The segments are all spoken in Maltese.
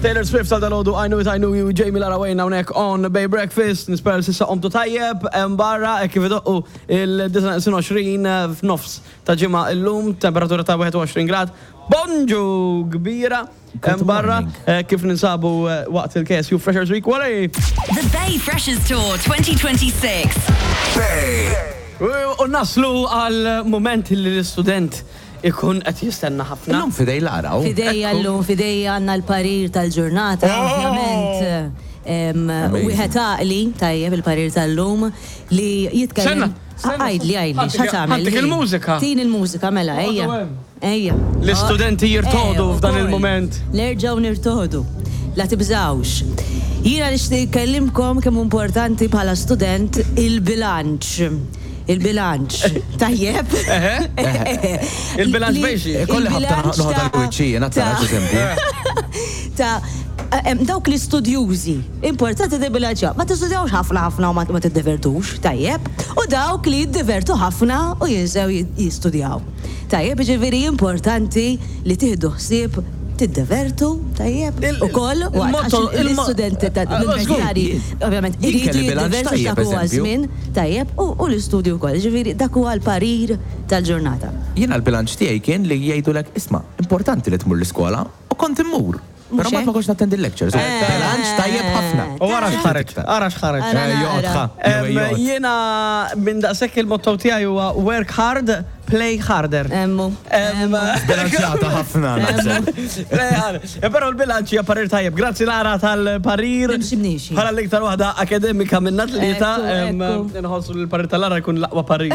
Taylor Swift għal dalgħodu I Knew It I Knew You Jamie Lara Wayne hawnhekk on Bay Breakfast. Nispera li s'issa qomtu tajjeb hemm barra hekk kif idoqqu il-29 f'nofs ta' ġimgħa illum, temperatura ta' 21 grad. Bonġu kbira hemm barra kif ninsabu waqt il-KSU Freshers Week. Wara The Bay Freshers Tour 2026. Bay. U naslu għal mument li l-istudent ikun qed jistenna ħafna. Illum f'idej Lara hu. F'idejja llum, f'idejja għandna l-parir tal-ġurnata, ovvjament. Wieħed għaqli, tajjeb il-parir tal-lum, li jitkellem. Għidli, għidli, x'ħa tagħmel? Ħantik il-mużika. Tini l-mużika, mela, ejja. Ejja. L-istudenti jirtodu f'dan il-mument. Nerġgħu nirtodu. La tibżgħux. Jiena nixtieq nkellimkom kemm hu importanti bħala student il-bilanċ. Il-bilanċ. Tajjeb? Il-bilanċ bejn xi? Ikolli ħabta noħodha l-wiċċ jiena tara eżempju. Ta' dawk l-istudjużi, importanti tibbilanċjaw. Ma tistudjawx ħafna ħafna u ma tiddevertux, tajjeb? U dawk li jiddivertu ħafna u jinsew jistudjaw. Tajjeb, jiġifieri importanti li tieħdu ħsieb tiddevertu, tajjeb, ukoll waqt għax l-istudenti tal-universitarji ovvjament iridu jiddevertu għax dak huwa ż-żmien, tajjeb, u l-istudju wkoll. Jiġifieri dak huwa l-parir tal-ġurnata. Jiena l-bilanċ tiegħi kien li jgħidulek isma' importanti li tmur l-iskola u kont immur. Però mbagħad ma kontx nattendi l-lectures. Bilanċ tajjeb ħafna. U ara x'ħareġ, ara x'ħareġ. Joqgħod ħa. Jiena minn daqshekk il-motto tiegħi huwa work hard, play harder. Emmu. Bilanċjata ħafna naħseb. Play harder. Però l-bilanċ hija parir tajjeb. Grazzi Lara tal-parir. Nimxi b'nixi. Bħala l-iktar waħda akademika minna tlieta. Inħossu li l-parir tal-Lara jkun l-aqwa parir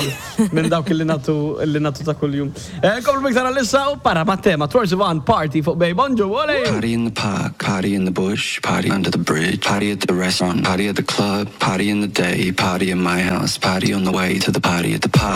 minn dawk li nagħtu li nagħtu ta' kuljum. Nkomplu b'iktar għalissa u para mat-tema Troye Sivan Party fuq Bay Bonġu, ole! Party in the park, party in the bush, party under the bridge, party at the restaurant, party at the club, party in the day, party in my house, party on the way to the party at the park.